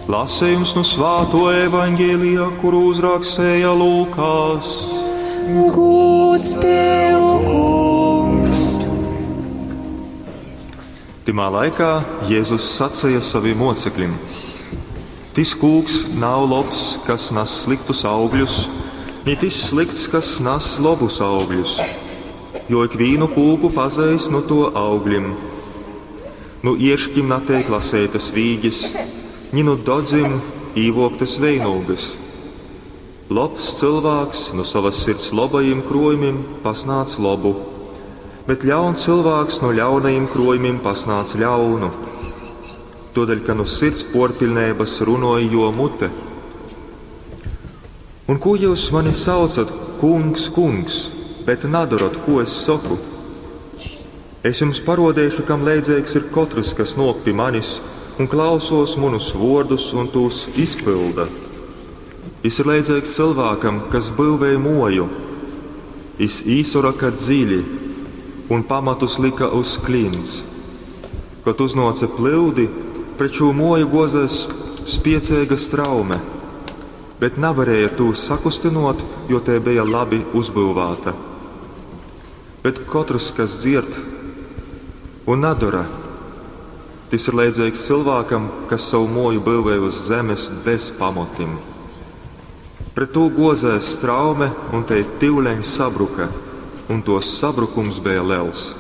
Lasījums nu svāto evaņģēlija, kuru uzrakstēja Lūkas. Gūds tev, kungs! Timā laikā Jēzus sacīja saviem mocekļiem: Tis kūks nav lobs, kas nes sliktus augļus, ni tis slikts, kas nes labus augļus, jo ikvīnu kūku pazeis no to augļiem. Nu ieršķim natiek lasētas vīģes, ni nu dodzim īvoktas veinūgas. Lobs cilvēks no savas sirds labajiem krojumiem pasnāc labu, bet ļauns cilvēks no ļaunajiem krojumiem pasnāc ļaunu. Todēļ, ka no sirds porpilnības runoja jo mute. Un ko jūs mani saucat, kungs, kungs, bet nedarot, ko es saku? Es jums parodēšu, kam leidzīgs ir katrs, kas nok pie manis un klausos manus vārdus un tos izpilda. Jis ir leidzīgs cilvēkam, kas būvēja moju. Jis īsoraka dziļi un pamatus lika uz klints. Kad uznāca plūdi, pret šo moju gozēs spiecīga straume, bet nevarēja tū sakustinot, jo te bija labi uzbūvēta. Bet katrs, kas dzird un nedara, tas ir leidzīgs cilvēkam, kas savu moju būvē uz zemes bez pamatim. Pret to gozēs straume un te tivleņ sabruka, un tos sabrukums bija liels.